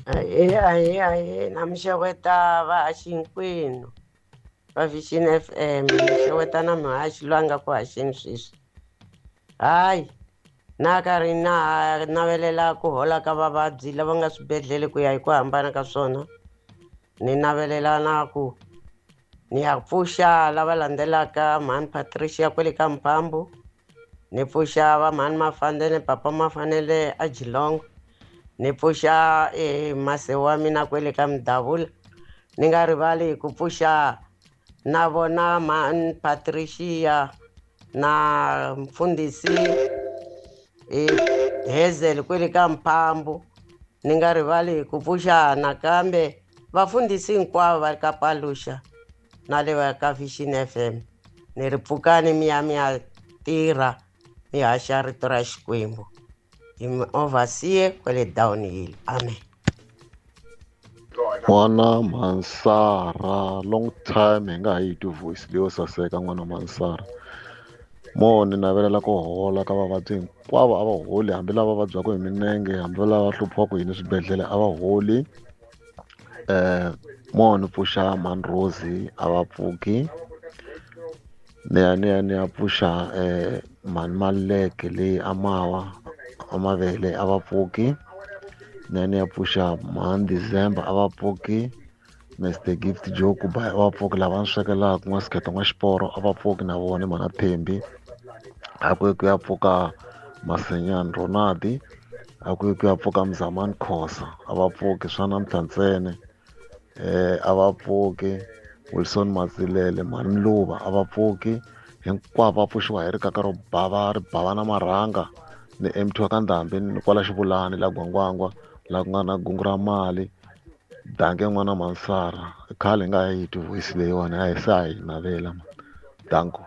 Ahee, ahee, ahee, na mi xeweta vahaxi hinkwenu va Vision FM, mi xeweta na muhaxi loyi a nga ku haxeni sweswi. Hayi, na karhi na ha navelela ku hola ka vavabyi lava nga swibedhlele ku ya hi ku hambana ka swona. Ni navelela na ku ni ya pfuxa lava landzelaka mhani Patricia kwale ka Mphambu, ni pfuxa va mhani Mafandele, papa Mafanele a Geelong, ni pfuxa mase wa mina kwele ka Mdavula, ni nga rivali ku pfuxa na vona mhani Patricia na mfundhisi Hazel kwele ka Mphambu, ni nga rivali ku pfuxa nakambe vafundhisi hinkwavo va ka Paluxa na le va ka Vision FM. Ni ri pfukani mi ya mi ya tirha mi haxa rito ra Xikwembu. Hi mi overseer kwale Downhill. Amen. N'wana Mansara, long time hi nga ha yi twi voice leyo saseka n'wana Mansara. Mo ni navelela ku hola ka vavabyi hinkwavo, a va holi, hambi lava vabyaka hi minenge, hambi lava hluphiwaka hi swibedhlele a va holi. Mo ni pfuxa mhani Rosie a va pfuki. Ni ya ni ya ni ya pfuxa mhani Maluleke leyi a mawa a mavele a va pfuki. Ni ya ni ya pfuxa mhani December a va pfuki. Mr Gift Joe Kubai a va pfuki, lava ni swekelaka n'wa Sikheto n'wa Xiporo a va pfuki na vona mhana Thembi. A ku ye ku ya pfuka Masenyani Ronaldi, a ku ye ku ya pfuka Mzamani Khosa a va pfuki, swa namuntlha ntsena. A va pfuki Wilson Matsilele, mhani Mluva a va pfuki, hinkwavo va pfuxiwa hi rikaka ro bava ri bava na marhanga ni MT wa ka Ndhambi ni kwala Xivulani la Gwangwangwa la ku nga na gungu ra mali. Danke n'wana Mansara, khale hi nga ha yi twi voice leyiwani, a hi se a hi navela ma. Danko.